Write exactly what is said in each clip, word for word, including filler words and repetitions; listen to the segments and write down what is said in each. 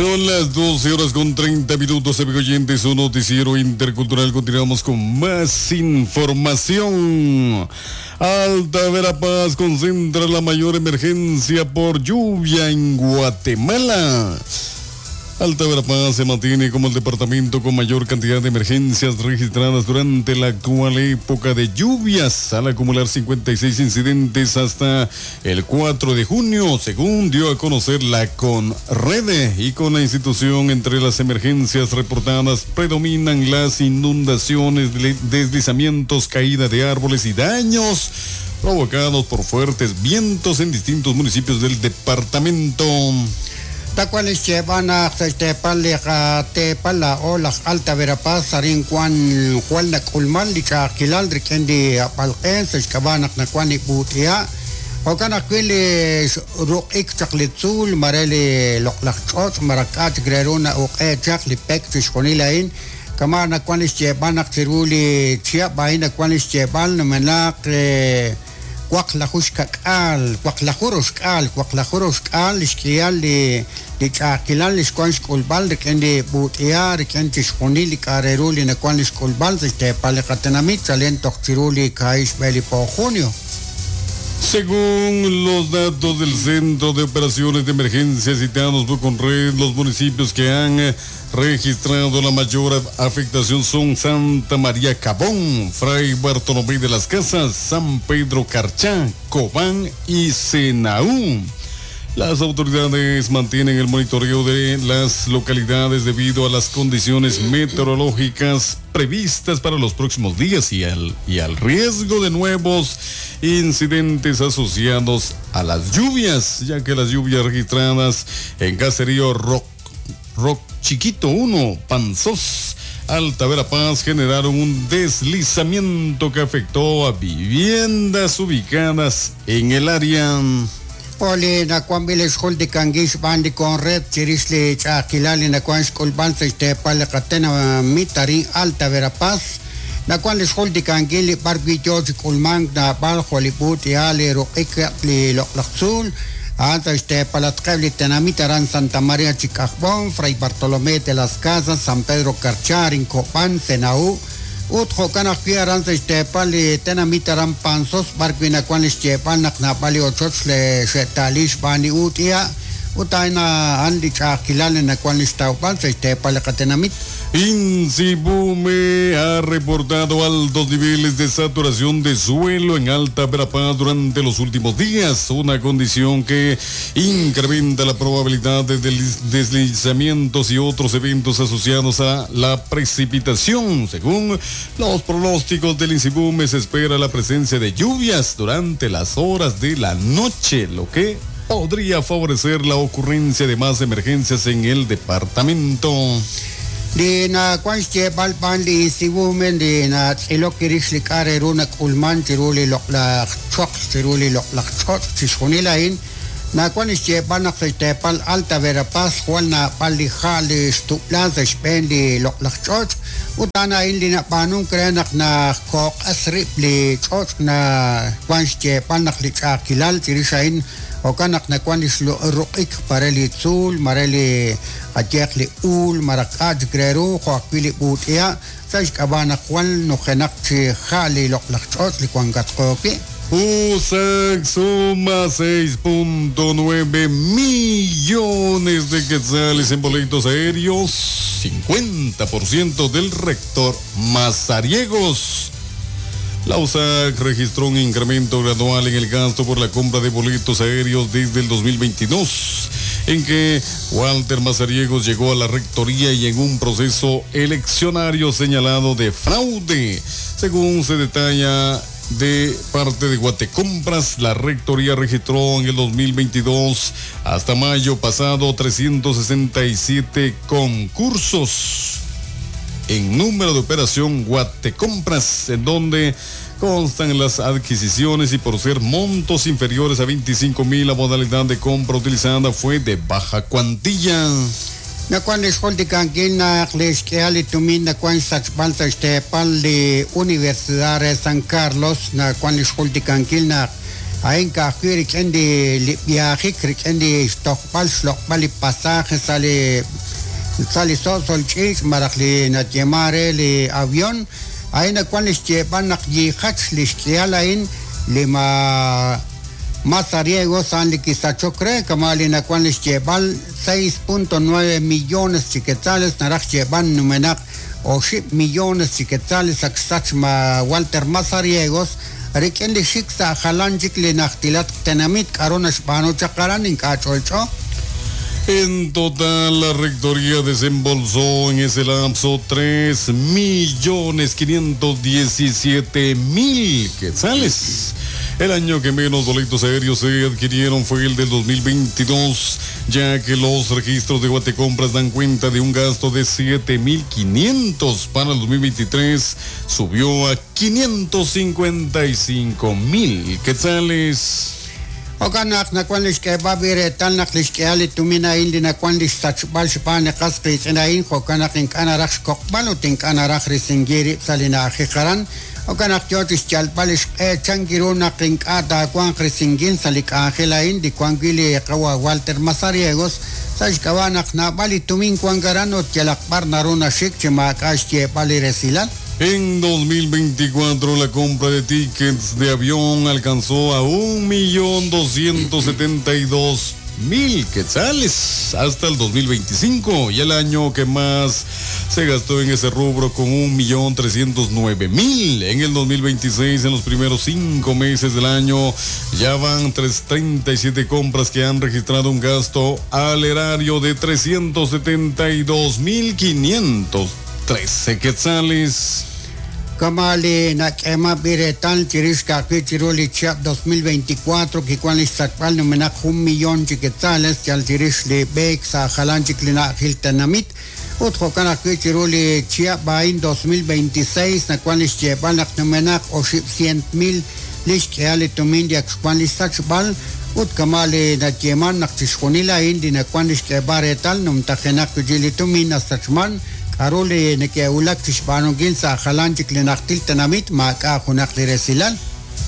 Son las doce horas con treinta minutos, amigos oyentes, un noticiero intercultural. Continuamos con más información. Alta Verapaz concentra la mayor emergencia por lluvia en Guatemala. Alta Verapaz se mantiene como el departamento con mayor cantidad de emergencias registradas durante la actual época de lluvias, al acumular cincuenta y seis incidentes hasta el cuatro de junio, según dio a conocer la CONREDE. Y con la institución, entre las emergencias reportadas predominan las inundaciones, deslizamientos, caída de árboles y daños provocados por fuertes vientos en distintos municipios del departamento. Tacuales llevan a Tepala o las Alta Verapaz, Sarin Juan Juan Nakulmal, Lichakilal, Rikendi Apalqen, Sechkabanak Nakuani Butia, Okanaquiles Ruik Chaklitzul, Marele Loklachot, Maracat, Greruna, Oke, Chakli Pek, Chishkonilain, Kamana Kuanis Chebanak, Chiruli, Chiabaina Kuanis Cheban, Menak. Cuaclajushkakal, Cuaclajurushkal, Cuaclajurushkal, Ishkial, Lichakilal, Ishkuanshkulbal, Rikendi Butia, Rikendi Shkunili, Kareruli, Nakuan Ishkulbal, Tepalecatenamit, Salento Chiruli, Kaish Beli po junio. Según los datos del Centro de Operaciones de Emergencia citados por Conred, los municipios que han registrado la mayor afectación son Santa María Cabón, Fray Bartolomé de las Casas, San Pedro Carchá, Cobán y Senaú. Las autoridades mantienen el monitoreo de las localidades debido a las condiciones meteorológicas previstas para los próximos días y al, y al riesgo de nuevos incidentes asociados a las lluvias, ya que las lluvias registradas en Caserío Rock, Rock Chiquito uno, Panzós, Alta Verapaz, generaron un deslizamiento que afectó a viviendas ubicadas en el área. Oli nakuan bilis jultikanguix bandi con red chirisli chakilali nakuan xkulbal sextepalekatena mitarin Alta Verapaz nakuan lis jultikanguili barguillo chikulman nabal joliput yali ruqik li loqlaqtzul anta xtepalatqebli tenamitaran Santa María Chicajbón, Fray Bartolomé de las Casas, San Pedro Carcharin, Copán, Senaú. Utjo kanakpi aranza ixtepali tenamitaran Panzós barquina cuan ixtepal naknapali ochoch le xetalish bani utia utaina andi chakilal nakuan ixtaupal ixtepali katenamit. INSIVUME ha reportado altos niveles de saturación de suelo en Alta Verapaz durante los últimos días, una condición que incrementa la probabilidad de deslizamientos y otros eventos asociados a la precipitación. Según los pronósticos del INSIVUME, se espera la presencia de lluvias durante las horas de la noche, lo que podría favorecer la ocurrencia de más emergencias en el departamento. Li na kuan xyeb'al b'an li INSIVUME li na tz'ilok kirix li k'a' re ru nak'ulman chiru li loq'laj choql chiru li loq'laj ch'och' chixjunil a'in nakuan xyeb'al naq sa' xteepal Alta Verapaz jwal nab'al li ja' li xtub'lan sa' xb'een li loq'laj ch'och' ut a'an a'in li nab'aanunk re naq najkoq'as rib' li ch'och' na kuan xyeb'al naq li ch'a'ajkilal chirix a'in jo'kan naq nakuan li xruq'ik pare li tzuul mare li ayeq li uul maraq'a chikreru jo' ajwi' li b'ut'iha' sa' xk'ab'a' naq jwal nujenaq chi ja' li loq'laj ch'och' li wankatqo wi'. U S A C suma seis punto nueve millones de quetzales en boletos aéreos, cincuenta por ciento del rector Mazariegos. La U S A C registró un incremento gradual en el gasto por la compra de boletos aéreos desde el dos mil veintidós, en que Walter Mazariegos llegó a la rectoría y en un proceso eleccionario señalado de fraude. Según se detalla de parte de Guatecompras, la rectoría registró en el dos mil veintidós hasta mayo pasado trescientos sesenta y siete concursos en número de operación Guatecompras, en donde constan las adquisiciones y por ser montos inferiores a veinticinco mil, la modalidad de compra utilizada fue de baja cuantía. Nakuan lixjultikankil naq lixk'ihal li tumin nakuan xsachb'al sa' xteepal li Universidad de San Carlos nakuan lixjultikankil naq Ain ka'ajwi' rik'in li li viajik rik'in li xtojb'al xloq'b'al li pasaje sa' li sa' li so'sol ch'iich' malaj li nayeeman re li avión ain nawan li xyeeb'al naq yiijach li xk'ihal ain li ma Mazariegos an li kisachok re kama li nawan li xyeeb'al seis punto nueve millones chi quetzales naraj xyeeb'al numenaq oxib' millones chi quetzales ak xsach ma Walter Mazariegos rik'in li xik sa' jalan chik li najtilat tenamit k'aru naxb'aanu chaq aran ink'a' ch'olch'o. En total, la rectoría desembolsó en ese lapso tres millones quinientos diecisiete mil quetzales. El año que menos boletos aéreos se adquirieron fue el del dos mil veintidós, ya que los registros de Guatecompras dan cuenta de un gasto de siete mil quinientos. Para el dos mil veintitrés subió a quinientos cincuenta y cinco mil quetzales. Jo'kan naq nawan li xk'eeb'al reetal naq li xk'ehal li tumin a'in li nawan li xsachb'al xb'aan li qas qiitz'in a'in jo'kan naq ink'a' naraj xkoq'b'al ut ink'a' naraj risinkil rib' sa' li na'ajej aran. Jo'kan naq yoo chi xyalb'al li xq'e chan kiru naq ink'a' taawanq risinkil sa' li k'anjel a'in li wan wi' li qawa Walter Mazariegos sa' xk'ab'a' naq naab'al li tumin wan aran ut yalaq b'ar naru naxik chi maak'a' xyeeb'al li resilal. En dos mil veinticuatro, la compra de tickets de avión alcanzó a un millón doscientos setenta y dos mil quetzales hasta el dos mil veinticinco, y el año que más se gastó en ese rubro con un millón trescientos nueve mil. En el dos mil veintiséis, en los primeros cinco meses del año, ya van tres, treinta y siete compras que han registrado un gasto al erario de trescientos setenta y dos mil quinientos trece quetzales. Kama li nak'eema b'iretal chirix ka'ajwi' chiru li chihab' dos mil veinticuatro kiwan li xsachb'al numenaq jun millón chi quetzales yal chirix li b'eek sa' jalan chik li na'ajil tenamit ut jo'kan ajwi' chiru li chihab' a'in dos mil veintiséis nawan li xyeeb'al naq numenaq oxib' cient mil li xk'ehal li tumin li ak xwan li xsachb'al ut kama li nayeeman naq chixjunil a'in li nawan li xk'eeb'al reetal numtajenaq wi' li tumin nasachman k'aru li neke'wulak chi xb'aanunkil sa' jalan chik li najtil tenamit maak'a' junaq li resilal.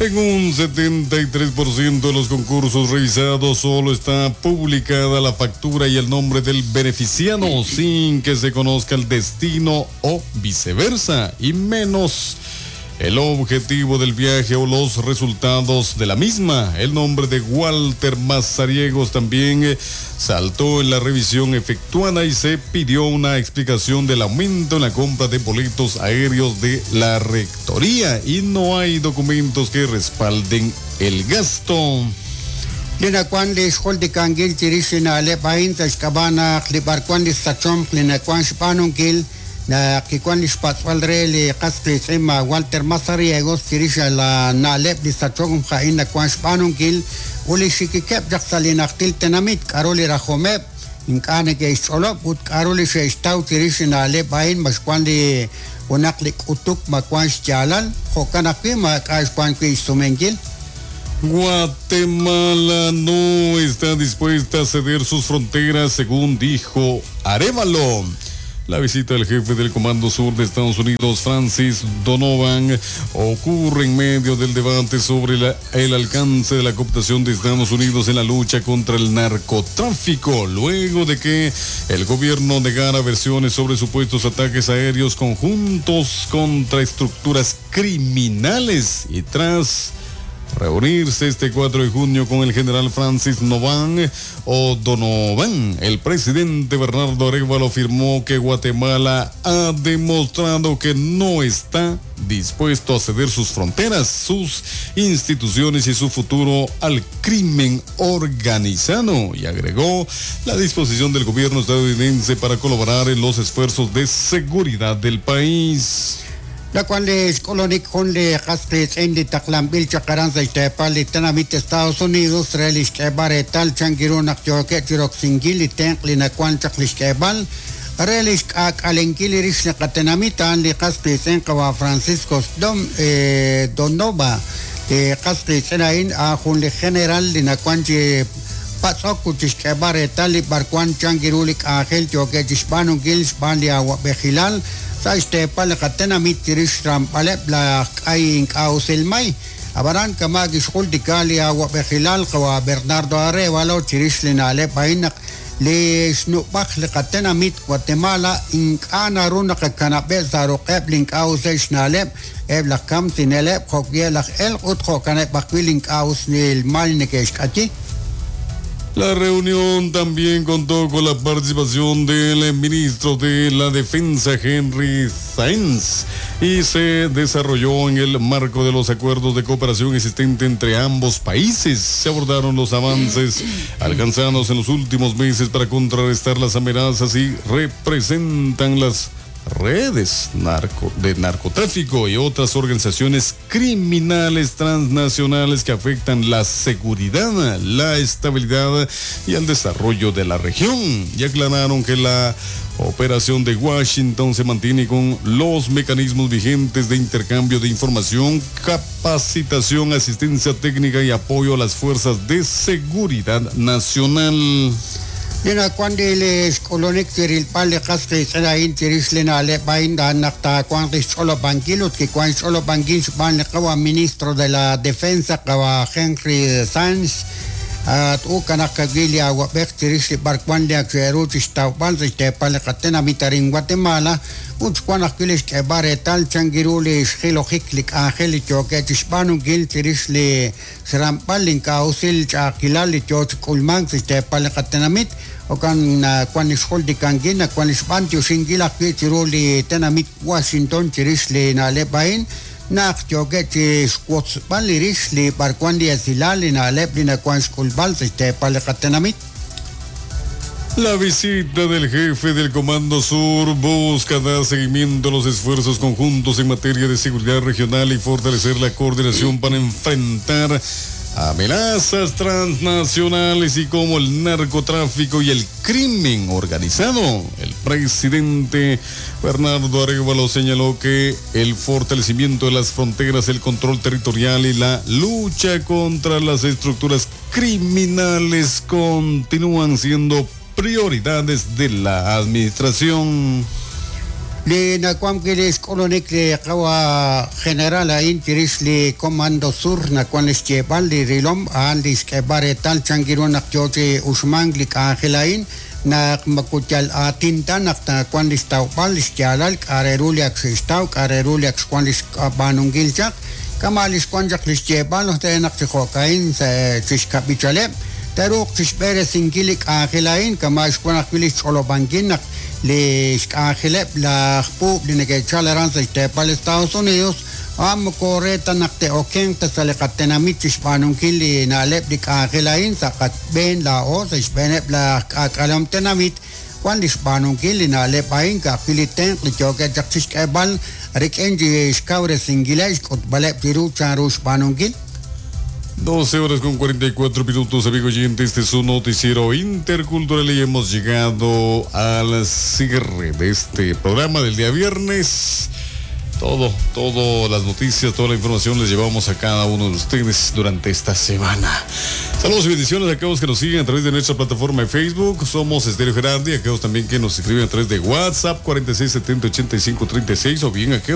En un setenta y tres por ciento de los concursos revisados solo está publicada la factura y el nombre del beneficiado sin que se conozca el destino o viceversa, y menos el objetivo del viaje o los resultados de la misma. El nombre de Walter Mazariegos también saltó en la revisión efectuada y se pidió una explicación del aumento en la compra de boletos aéreos de la rectoría, y no hay documentos que respalden el gasto. Li nawan li xjol dikankil chirix li na'leb' a'in sa' xk'ab'a' naq li b'arwan li sachomq li nawan xb'aanunkil naq kiwan li xpatz'b'al re li qas qiitz'in ma Walter Mazariegos chirix la na'leb' li sachomq a'in nawan xb'aanunkil ut li xikikeb' chaq sa' li najtil tenamit k'aru li rajomeb' ink'a' neke'xch'olob' ut k'aru li xe'xtaw chirix li na'leb' a'in ma xwan li junaq li k'utuk ma wan xyaalal jo'kan ajwi' maak'a' xwan wi' xsumenkil. Guatemala no está dispuesta a ceder sus fronteras, según dijo Arévalo. La visita del jefe del Comando Sur de Estados Unidos, Francis Donovan, ocurre en medio del debate sobre la, el alcance de la cooptación de Estados Unidos en la lucha contra el narcotráfico, luego de que el gobierno negara versiones sobre supuestos ataques aéreos conjuntos contra estructuras criminales, y tras reunirse este cuatro de junio con el general Francis Novan o Donovan, el presidente Bernardo Arévalo afirmó que Guatemala ha demostrado que no está dispuesto a ceder sus fronteras, sus instituciones y su futuro al crimen organizado, y agregó la disposición del gobierno estadounidense para colaborar en los esfuerzos de seguridad del país. La cual es colonik jun li qas qiitz'in li taqlanb'il chaq aran sa' xteepal li tenamit Estados Unidos re li xk'eeb'al reetal chan kiru naq yookeb' chi roksinkil li tenq' li nawan chaq li xk'eeb'al re li xk'aak'alenkil li rix li qatenamit a'an li qas qiitz'in qawa Francisco Dom, eh, Donova li qas qiitz'in a'in a jun li general li nawan chi patz'ok ut chi xk'eeb'al reetal li b'arwan chan kiru li k'anjel yookeb' chi xb'aanunkil xb'aan li awab'ejilal sa' xteepal li qatenamit chirix xramb'aleb' laj k'ay ink'a' usilmay. Ab'anan kama' kixjultika li awab'ejilal qawa' Bernardo Arévalo chirix li na'leb' a'in naq li xnub'aj li qatenamit Guatemala ink'a' naru naqakanab'eb' sa' ruq'eb' li ink'a' us xna'leb' eb' laj kamsineleb' jo'wi' laj elq' ut jo'kaneb' ajwi' li ink'a' us mal neke'xk'ayi. La reunión también contó con la participación del ministro de la Defensa, Henry Sáenz, y se desarrolló en el marco de los acuerdos de cooperación existente entre ambos países. Se abordaron los avances alcanzados en los últimos meses para contrarrestar las amenazas y representan las redes narco, de narcotráfico y otras organizaciones criminales transnacionales que afectan la seguridad, la estabilidad y el desarrollo de la región. Y aclararon que la operación de Washington se mantiene con los mecanismos vigentes de intercambio de información, capacitación, asistencia técnica y apoyo a las fuerzas de seguridad nacional. Lina cuando le xk'ulunik chirilb'al li qas qiitz'in a'in chirix li na'leb' a'in naq taawanq li xch'olob'ankil ut kiwan xch'olob'ankil xb'aan li qawa ministro de la Defensa qawa Henry Sáenz at ukanaq kawil li awab'ej chirix li b'arwan li ak xe'ru chixtawb'al sa' xteepal li qatenamit arin Guatemala ut xwan ajwi' li xk'eeb'al reetal chankiru li xjilojik li k'anjel li yookeb' chixb'aanunkil chirix li xramb'al li ink'a' usil ch'a'ajkilal li yoo chik'ulmank sa' xteepal li qatenamit okan wan li xjultikankil wan li xb'antioxinkil ajwi' chiru li tenamit Washington chirix li na'leb' a'in naq yookeb' chixwotzb'al li rix li b'arwan li esilal li na'leb' li nawan xk'ulb'al sa' xteepal li qatenamit. La visita del jefe del Comando Sur busca dar seguimiento a los esfuerzos conjuntos en materia de seguridad regional y fortalecer la coordinación para enfrentar amenazas transnacionales y como el narcotráfico y el crimen organizado. El presidente Bernardo Arévalo señaló que el fortalecimiento de las fronteras, el control territorial y la lucha contra las estructuras criminales continúan siendo prioridades de la administración. Li nakuam li xk'ulunik li qawa general a'in chirix li Comando Sur nakuan li xyeeb'al li rilom a'an li xk'eeb'al reetal chankiru naq yoo chi uxmank li k'anjel a'in naq makuyal aatin ta naq nakuan li xtawb'al li xyaalal k'a' re ru li ak xe'xtaw k'a' re ru li ak xwan li xb'aanunkil chaq kama' li xwan chaq li xyeeb'al re naq chi jo'ka'in sa' chixkab'ichaleb' teruuq chixb'eresinkil li k'anjel a'in kama' xwan ajwi' li xch'olob'ankil naq li xk'anjeleb' laj puub' li neke'chal aran sa' xteepal Estados Unidos a'an moko re ta naq te'okenq ta sa' li qatenamit chixb'aanunkil li na'leb' li k'anjel a'in sa' qatb'een laa'o sa' xb'eeneb' laj k'aak'alom tenamit wan li xb'aanunkil li na'leb' a'in ka'ajwi' li tenq' li yookeb' chaq chixk'eeb'al rik'in xkawresinkileb' xk'utb'aleb' chiru chanru xb'aanunkil. doce horas con cuarenta y cuatro minutos, amigo oyente, este es un noticiero intercultural y hemos llegado al cierre de este programa del día viernes. Todo, todo las noticias, toda la información les llevamos a cada uno de ustedes durante esta semana. Saludos y bendiciones a aquellos que nos siguen a través de nuestra plataforma de Facebook. Somos Estéreo Gerardi, aquellos también que nos escriben a través de WhatsApp cuarenta y seis setenta ochenta y cinco treinta y seis o bien aquellos